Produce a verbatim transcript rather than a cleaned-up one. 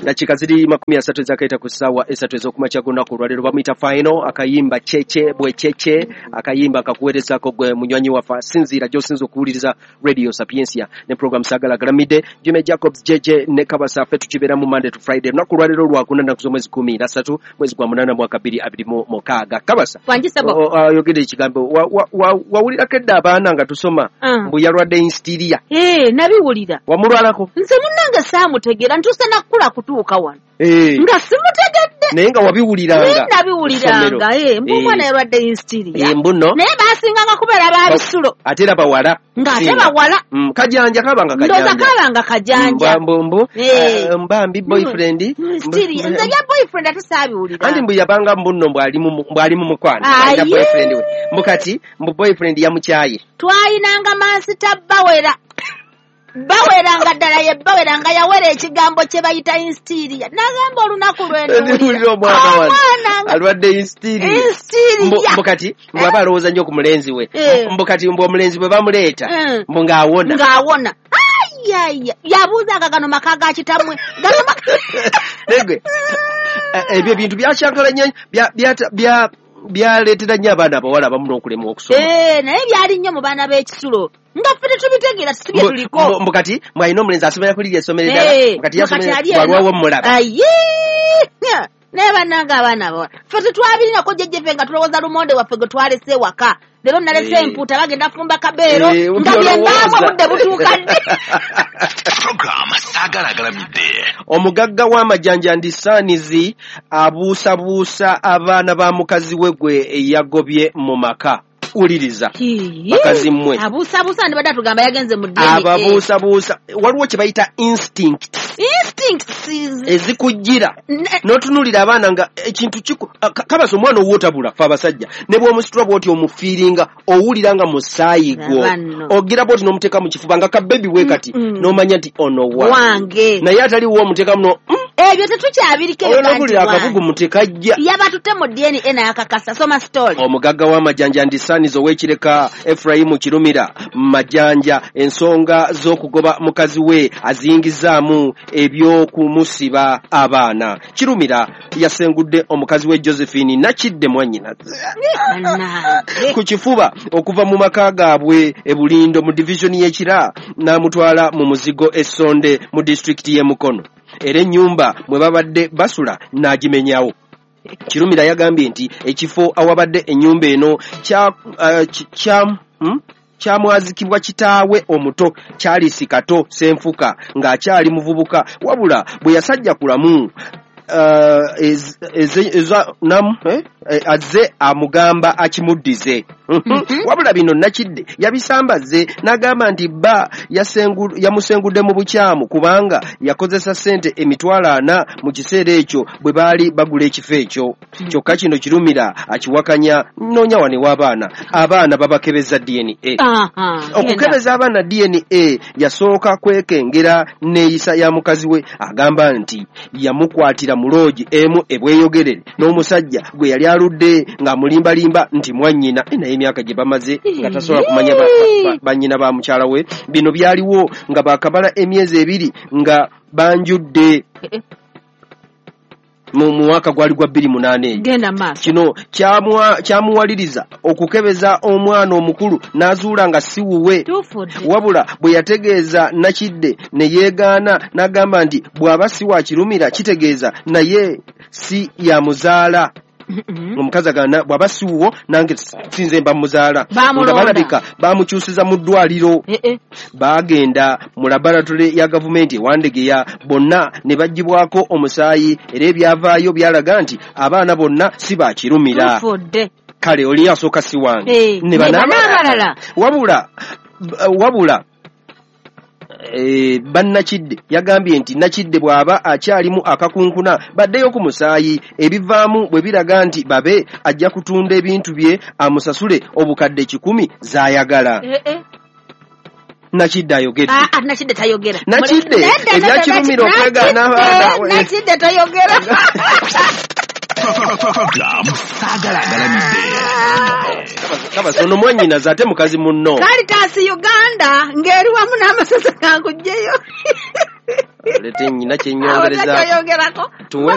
Dakika ziri makumi asatu ezakaita ku ssaawa esatu ez'okumakya g'olunaku olwaleero. Bamuyita Final, akayimba Cece bwe Cece, akayimba akakuweerezaako gwe munywanyi waffe asinziira gy'osinza okuwuliriza Radio Sapientia ne program Saagala Galamidde. Jimmy Jacobs J J ne Kabasa, ffe tukibeeramu Monday to Friday. Olunaku olwaleero lwakuna, nnaku z'omwezi kumi na ssatu, mwezi gwa munaana, mwaka bbiri abiri mu mukaaga. Kabasa, Wangisebo. o- o- ayogedde ekigambo. Wa- wa- wa- wawulirako edda abaana nga tusoma Ah. mbu yalwadde instiria? Eh, nabiwulira. Wamulwalako? Nze munnange saamutegeera, ntuuse nakula kutuuka wano Eh, nga simutegedde. Naye nga wabiwuliranga? Naye nabiwuliranga, eh, mbu Eh. omwana yalwadde instiria. Eh, mbu nno. Naye baasinganga kubeera babisulo. Ate era bawala. Ng'ate Singa. bawala. Mm, kajanja kabanga Ndooza kajanja. kabanga kajanja. Mbu mbu Eh. eh, mbambi boyfriend. Instiria, nze bya boyfriend ate saabiwulira. Anti mbu yabanga mbu nno mbu ali mu mbu ali mu mukwano, Aye. alina boyfriend we, mbu kati mbu boyfriend yamukyaye. Twayinanga mansita bawera, baweranga ddala, ye bawera nga yawera ekigambo kye bayita instiria. Nagamba olunaku Ndiwulira omwana wano Omwana nga alwadde instiria. Instiria. Mbu mbu kati mbu aba alowooza nnyo ku mulenzi we. Eh. Mbu kati mbu omulenzi bwe bamuleeta, Mm. mbu ng'awona. Ng'awona. Ayaya, yabuuzanga, "Gano maka ga kitammwe? Gano maka?" Negwe ebyo ebintu byakyankalanya, bya- byata- bya- byaleetera nnyo abaana abawala abamu n'okulemwa okusoma. Eh, naye byali nnyo mu baana b'ekisulo, nga ffe tetubitegeera, sibye Mbu- tuliko. mbu- mbu kati mwalina omulenzi asomera kulirya essomero eddala. Eh, Mbu kati mbu kati yasomera ali eno. bwalwawo mmulaba. Aye, naye bannange, abaana abawala ffe tetwabirinako. Jjejjeffe nga tulowooza lumonde waffe gwe twalese ewaka, leero nalese Eh. empuuta, bagenda fumba kabeero, Eh, nga byembaamu by'olowooza. Obudde butuuka ddi? Program Saagala Agalamidde. Omugagga w'amajanja ndisaanizi abuusabuusa abaana ba mukazi we gwe yagobye mu maka. Wuliriza, bakazi mmwe. Abuusabuusa, ndibadde atugamba yagenze mu D N A. Ababuusabuusa, waliwo kye bayita instinct. Instincts. Ezikujjira Ne- n'otunuulira abaana nga ekintu kiku ka- kabasa omwana owootabula. Fe abasajja ne bw'omusitula bw'oti omufiiringa, owulira nga musaayi gwo. Abanno. Ogira bw'oti n'omuteeka mu kifuba nga kabebi bwe kati, Mm-mm. n'omanya nti ono wange. Wange. Naye ataliwo omuteekamu no mm, Ebyo tetukyabiriko ebyo. Olw'okulira akabugumu tekajja. Yabatutte mu D N A n'akakasa. Soma story. Omugagga w'amajanja ndisaaniza ow'Ekireka Efurayimu Kirumira Majanja ensonga z'okugoba mukazi we aziyingizaamu eby'okumusiba abaana. Kirumira yasengudde omukazi we Josephine Nakidde, mwannyina, Bannange. ku kifuba okuva mu maka gaabwe e Bulindo mu divizoni y'Ekira n'amutwala mu muzigo Essonde mu disitulikiti y'e Mukono, era ennyumba mwe babadde basula n'agimenyawo. Kirumira yagambye nti ekifo awabadde ennyumba eno kya, uh, kya, hmm? kyamwazikibwa kitaawe omuto Charles Kato Senfuka ng'akyali muvubuka, wabula bwe yasajja kulamu uh, ez, ez, eza, nam, eh? Eh, azze amugamba akimuddize. Mhm. Wabula bino Nakidde yabisambaze n'agamba nti bba yasengu- yamusengudde mu bukyamu kubanga yakozesa ssente emitwalo ana mu kiseera ekyo bwe baali bagula ekifo ekyo. Kyokka kino Kirumira akiwakanya. Noonya wane w'abaana, abaana babakebeza D N A. Aha, genda. Okukebeza abaana D N A yasooka kwekengera neeyisa ya mukazi we. Agamba nti yamukwatira mu loogi emu ebweyogerere n'omusajja gwe yali aludde ng'amulimbalimba nti mwannyina. Eh, naye emyaka gye bamaze nga tasobola kumanya ba- ba- ba- bannyina ba mukyala we. Bino byaliwo nga bakamala emyezi ebiri nga banjudde Eh, eh, mu mwaka gwali gwa bbiri munaana eyo. Genda maaso. Kino kyamwa- kyamuwaliriza okukebeza omwana omukulu n'azuula nga si wuwe. Tufudde. Wabula bwe yategeeza Nakidde ne yeegaana n'agamba nti bw'aba si wa Kirumira kitegeeza naye si yamuzaala. Mm-mm. Omukazi agamba, "Bw'aba si wuwo nange sinze mba muzaala." Bamulonda. Nga balabika bamukyusiza mu ddwaliro. Eh, eh. Baagenda mu laboratory ya gavumenti ewandegeya, bonna ne baggyibwako omusaayi, era ebyavaayo byalaga nti abaana bonna si bakirumira. Tufudde. Kale oli asooka si wange, Eh, ne ne bano bano abalala. Wabula wabula eh, bannakidde yagambye nti Nakidde bw'aba akyalimu akakunkuna baddeyo ku musaayi, ebivaamu bwe biraga nti babe, ajja kutunda ebintu bye amusasule obukadde kikumi z'ayagala. Eh, eh. Nakidde ayogedde. Ah, ah, Nakidde tayogera. Nakidde, Nedda, nedda, ebyakirumira Nakidde, okwegaana abaana. Nakidde tayogera. Program Saagala Agalamidde. Kabasa ono mwannyinaze ate mukazi munno. Caritas Uganda ng'eri wamu n'amasaza kankugjeyo. Lete nyina Awo kyenyongerezaako. takyoyongerako. Tuwe